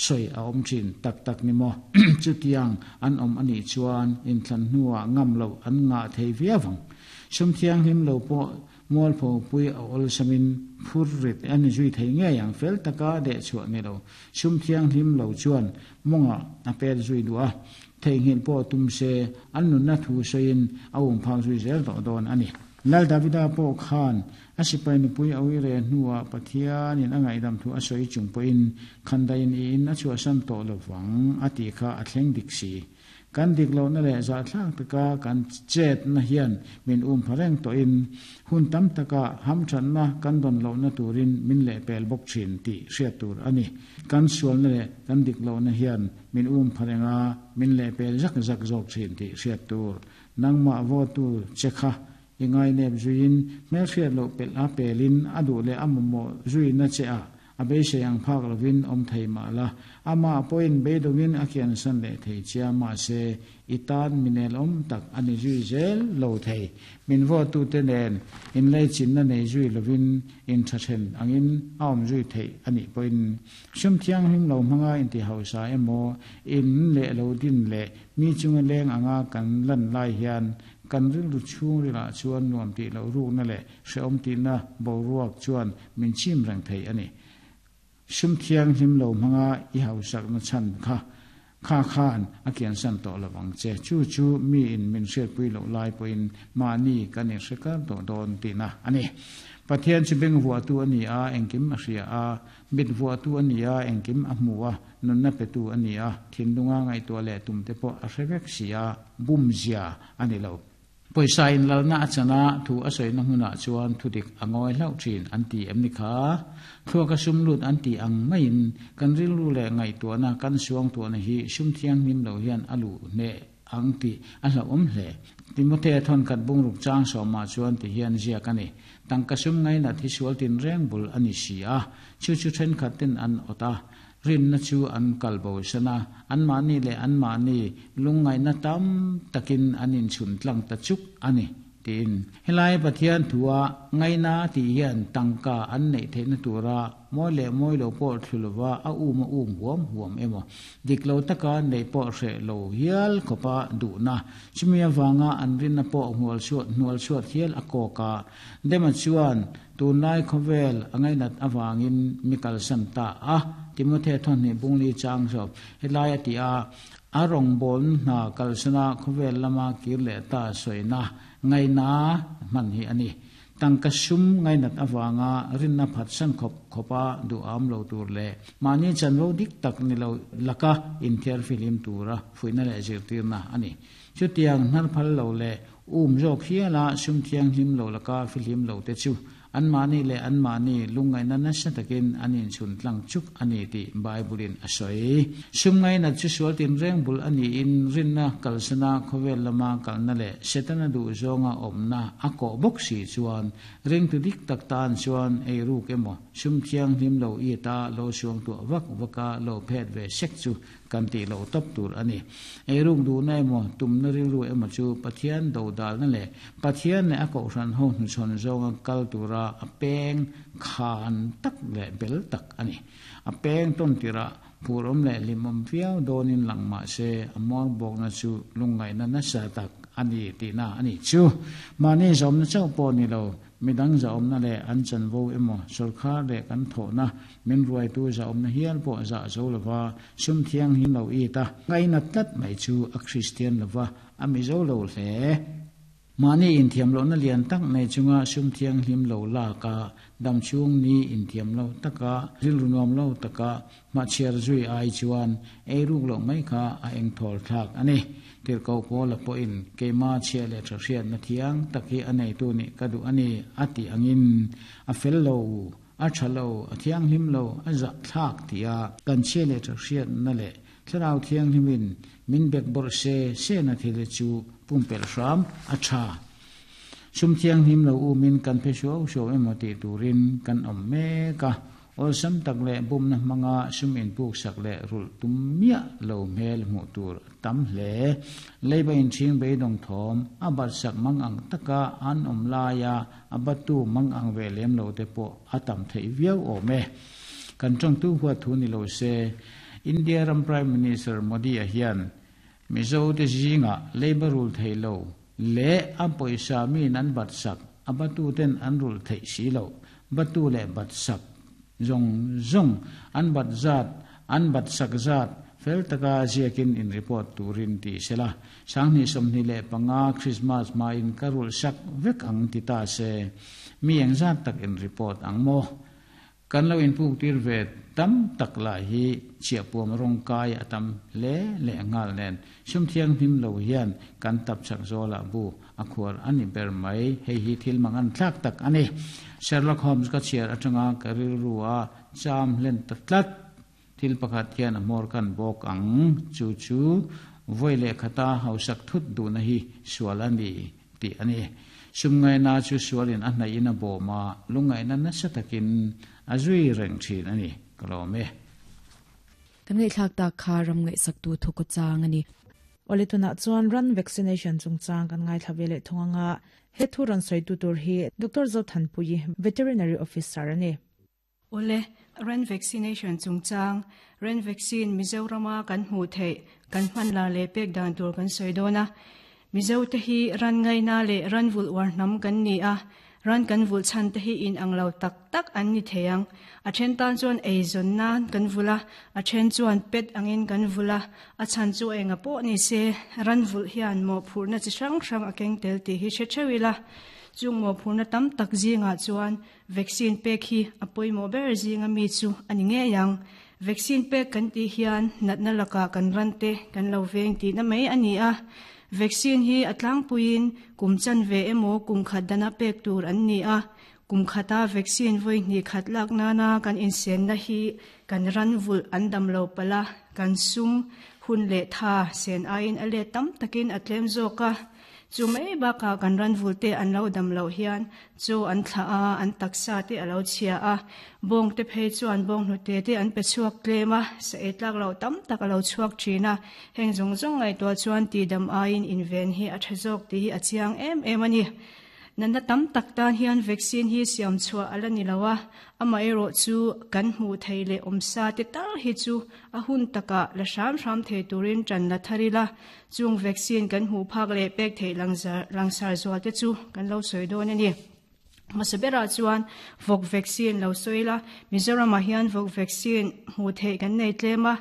sawi a awm thin tak tak ni maw? Chutiang an awm a nih chuan inthlan hnuah ngam loh an ngah thei viau ang. Sum thianghlim lo pawh mualpho pui a awlsamin phur rit a ni zui thei ngei ang. Fel taka dehchhuah ni lo sum thianghlim lo chuan mawngah a pet zui duh a, theihnghilh pawh tum se an nunna thu sawiin a umphak zui zel tawh dawn a ni. Lal Davida pawh khan a sipai nupui a ui re hnuah Pathianin a ngaihdam thu a sawi chung pawhin khandaiin i in a chhuahsan tawh lo vang a tih kha a thleng dik si. Kan dik lohna leh zahthlak taka kan chetna hian min um pha reng tawhin hun tam takah hamthatna kan dawn lohna turin min lehpel bawk thin tih hriat tur a ni. Kan sualna leh kan dik lohna hian min um pha reng a, min lehpel zak zak zawk thin tih hriat tur. Nangmah vawtu che kha i ngainep zuiin hmelhriat loh pelh a pelin a duh leh a mamawh zuina che a, a beisei ang phak lovin awm thei mah la, amah pawhin beidawngin a kiansan leh thei chia mahse i tan minel awm tak a ni zui zel lo thei. Min vawtute nen inleichinna nei zui lovin inthathen angin a awm zui theih a nih pawhin sum thianghlim lo hmanga inti hausa emaw in leh lo din leh mi chunga leng anga kan lan lai hian kan rilru chhungrilah chuan nuam tih loh rukna leh hrehawm tihna boruak chuan min chim reng thei a ni. Sum thianghlim lo hmanga i hausakna chhan kha kha khan a kiansan tawh lo vang che. Chu chu miin min hriatpui loh lai pawhin mahni kan inhre kar tawh dawn tihna a ni. Pathian chu beng vuahtu a ni a, engkim a hria a, mit vuahtu a ni a, engkim a hmu a, nunna petu a ni a, thinlunga ngaihtuah leh tumte pawh a hre vek si a, bumzia a ni lo. Pawisa inlalna a chan a, thu a sawina hmunah chuan thudik a ngawi hlauh thin an ti em ni kha? Thluaka sum lut an tih ang maiin kan rilru leh ngaihtuahna kan suangtuahna hi sum thianghlim lo hian a luh hneh ang tih a hlauhawm hle. Timothea thawnkhat bungruk chang sawmah chuan ti hian ziak a ni, Tangka sum ngainat hi sual tinreng bul a ni si a, chu chu thenkhat ten an awt a, Rinna chu an kal bosan a, anmahni leh anmahni lungngaihna tam takin an inchhun tlang ta chuk a ni, tiin. Helai Pathian thua ngaina tih hian tangka an neih theihna tura mawi leh mawi lo pawh thlu lova a um a um huam huam emaw, dik lo taka neih pawh hreh lo hial khawpa duhna, chumi avanga an rinna pawh hnual chhuat hnual chhuat hial a kawk a. Dema chuan Tunlai khawvel a ngainat avangin mi kalsan ta a, Timothea thawhnih bungli chang zawk helai a ti a, a rawngbawlna hna kalsana khawvel lama kir leh ta sawina ngaina hman hi a ni. Tangka sum ngainat avanga rinna phatsan khawp khawpa duham lo tur leh mahni chanvo dik tak ni lo laka inthiar fihlim tura fuihna leh zirtirna a ni. Chutiang hnarphal lo leh Um zawk hiala sum thianghlim lo laka fihlim lo te chu anmahni leh anmahni lungngaihna nasa takin an inchhun tlang chuk a ni tih Bible-in a sawi. Sum ngainat chu sual tinreng bul a niin rinna kalsana khawvel lama kalna leh Setana duhzawnga awmna a kawh bawk si chuan ringtu dik tak tan chuan eiruk emaw sum thianghlim lo it a lo suangtuah vak vaka lo phet ve sek chu Kan tih loh tawp tur a ni. Eiruk duhna emaw, tumna rilru emaw chu Pathian dodalna leh Pathian leh a kohhran ho hnuchhawn zawnga kal tura a peng khan tak leh bel tak a ni. A peng tawn tirah phurawm leh hlimawm viau dawnin lang mah se a muangbawkna chu lungngaihna nasa tak a ni tihna a nih chu. Mahni zawmna chauh pawh ni lo, Midang zahawmna leh an chanvo emaw sawrkhar leh kan thawhna min ruaitu zahawmna hial pawh zah zo lova sum thianghlim lo it a, ngainat tlat mai chu a Kristian lova a mizo lo hle. Mahni inthiam lohna lian tak nei chunga sum thianghlim lo lak a, damchhung ni inthiam lo taka rilru nuam lo taka Hmachhiar zui ai chuan ei ruk loh mai kha a engthawl thlak a ni. Tirhkoh Paula pawhin keima chhia leh tha hriatna thiang tak hi a neitu nih ka duh a ni a tih angin a fel lo, a tha lo, a thianghlim lo, a zah thlak tia kan chhia leh tha hriatna leh thlarau thianghlimin min bek bawrh se sena thil hi chu pumpelh hram a tha. Sum thianghlim lo umin kan phe suau suau emaw tih turin kan awm mek a. Awlsam tak leh bumna hmanga sum inpuksak leh rulh tum miah lo hmel hmuh tur a tam hle. Leiba inchhing beidawng thawm a batsak mang ang taka an awm laia a battu mang ang ve lem lo te pawh a tam theih viau awm e. Kan tawngtu huat thu ni lo se. India ram Prime Minister Modi-a hian Mizo te zingah leiba rul thei lo leh a pawisa miin an bat sak, a batu ten an rulh theih si loh, batu leh bat sak zawng zawng an bat zat, an bat sak zat fel taka ziakin in report turin ti sela, 2025 Christmas hmain ka rulh sak vek ang ti ta se, mi engzat tak in report ang maw? Kan lo inpuk tir ve tam tak lah hi chhiahpuam rawng kai a tam hle leh nghal nen sum thianghlim lo hian kan tap chak zawlah bu a khuar a ni ber mai. Hei hi thil mang an thlak tak a ni. Sherlock Holmes ka chhiar atanga ka rilru a cham hlen ta tlat. Thil pakhat hian a hmawr kan bawk ang. Chu chu vawi leh khata hausak thut duhna hi sual a ni tih a ni. Sum ngaihna chu sualin a hnaih in a bawm a, lungngaihna nasa takin a zui reng thin a ni. Ka lawm e. Kan ngaihthlak tak kha ram ngaihsaktu thukaw chang a ni. Awle tunah chuan ran vaccination chungchang kan ngaithla ve leh thung anga he thu rawn sawitu tur hi Doctor Zothanpuii, Veterinary Officer a ni. Awle, ran vaccination chungchang, ran vaccine Mizorama kan hmuh theih, kan hman lar leh pek dan tur kan sawi dawn a. Mizote hi ran ngaina leh ran vulh uar hnam kan ni a, ran kan vulh chhan te hi in ang lo tak tak an ni thei ang. A then tan chuan eizawn nan kan vulh a, a then chuan pet angin kan vulh a, a chhan chu enga pawh ni se, ran vulh hian mawhphurhna chi hrang hrang a keng tel tih hi hre theuh ila. Chung mawhphurhna tam tak zingah chuan Vaccine pek hi a pawimawh ber zinga mi chu a ni ngei ang. Vaccine pek kan tih hian natna lakah kan ran te kan lo veng tihna mai a ni a. Vaccine hi a tlangpuiin kum chanve emaw kum khat dana pek tur an ni a. Kum khata vaccine vawi hnih khat lak nana kan insenna hi kan ran vulh an dam lo palh a, kan sum hun leh tha sen aiin a let tam takin a tlem zawk a. Chu mai bakah kan ranvul te an lo dam loh hian chaw an thlah a, an taksa te a lo chhia a, bawng te phei chuan bawng hnute te an pe chhuak tlem a, sa ei tlak loh tam tak a lo chhuak thin a, heng zawng zawng ngaihtuah chuan tihdam aiin inven hi a tha zawk tih hi a chiang em em a ni. Natna tam tak tan hian vaccine hi siam chhuah a la ni lo a, amaherawh chu kan hmuh theih leh awmsa te tal hi chu a hun takah la hram hram thei turin tan la thar ila, chung vaccine kan hmuh phak leh pek theih langsar zual te chu kan lo sawi dawn a ni. Hmasa berah chuan vawk vaccine lo sawi ila, Mizoramah hian vawk vaccine hmuh theih kan nei tlem a,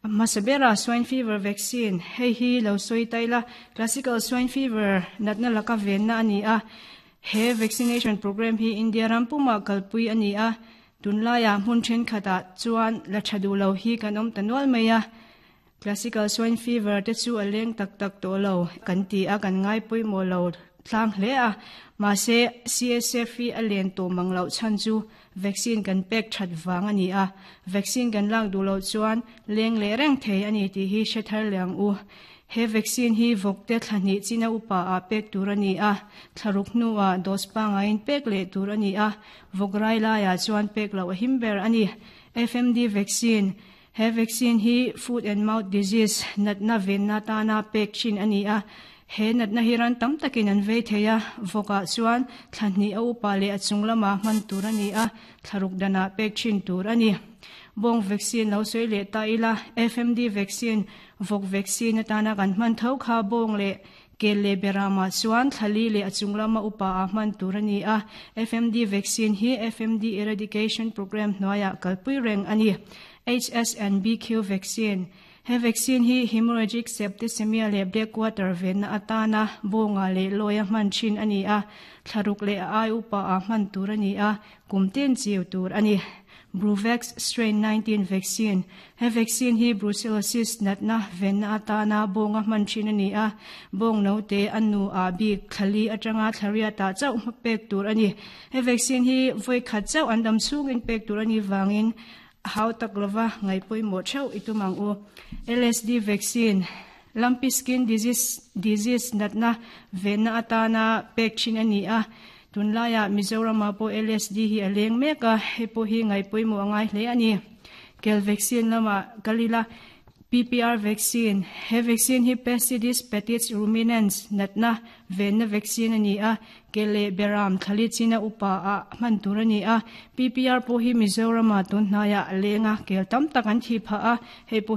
A hmasa berah swine fever vaccine, hei hi lo sawi ta ila, classical swine fever natna laka venna a ni a. He vaccination program hi India ram pumah kalpui a ni a, tunlaiah hmun thenkhatah chuan la tha duh lo hi kan awm ta nual mai a. Classical swine fever te chu a leng tak tak tawh lo kan ti a, kan ngai pawimawh lo tlang hle a. Mahse, CSF hi a len tawh mang loh chhan chu Vaccine kan pek that vang a ni a, vaccine kan lak duh loh chuan leng leh reng thei a ni tih hi hre thar leh ang u. He vaccine hi vawkte thla hnih china upa ah pek tur a ni a, thla ruk hnuah dose pangaiin pek leh tur a ni a, vawk rai laiah chuan pek loh a him ber a ni. FMD vaccine, He vaccine hi foot and mouth disease natna venna tana pek thin a ni a, he natna hi ran tam takin an vei thei a, vawkah chuan thla hnih a upa leh a chung lamah hman tur a ni a, thla ruk danah pek thin tur a ni. Bawng vaccine lo sawi leh ta ila, FMD vaccine, vawk vaccine atana kan hman tho kha bawng leh Kel leh Beramah chuan thlali leh a chung lama upa ah hman tur a ni a, FMD vaccine hi FMD Eradication Programme hnuaiah kalpui reng a ni. HSNBQ vaccine, He vaccine hi hemorrhagic septicemia leh blackwater venna atana bawnga leh lawia hman thin a ni a, thlaruk leh a ai upa ah hman tur a ni a, kum tin chiu tur a ni. Bruvax Strain 19 Vaccine, He vaccine hi brucellosis natna venna atana bawnga hman thin a ni a, bawng note a nu ah bik thlali atanga thlariat ah chauh hma pek tur a ni. He vaccine hi vawi khat chauh an dam chhungin pek tur a nih vangin a hau tak lova ngaih pawimawh theuh i tum ang u. LSD Vaccine, Lumpy Skin Disease Disease natna venna atana pek thin a ni a, Tunlaiah Mizoramah pawh LSD hi a leng mek a, hei pawh hi ngaih pawimawh a ngai hle a ni. Kel vaccine lamah kal ila. PPR vaccine, He vaccine hi Pestitis petits ruminants natna venna vaccine a ni a, ke leh beram thlali china upa ah hman tur a ni a. PPR pawh hi Mizorama tun hnaiah a leng a, kel tam tak an thih phah a, hei pawh hi.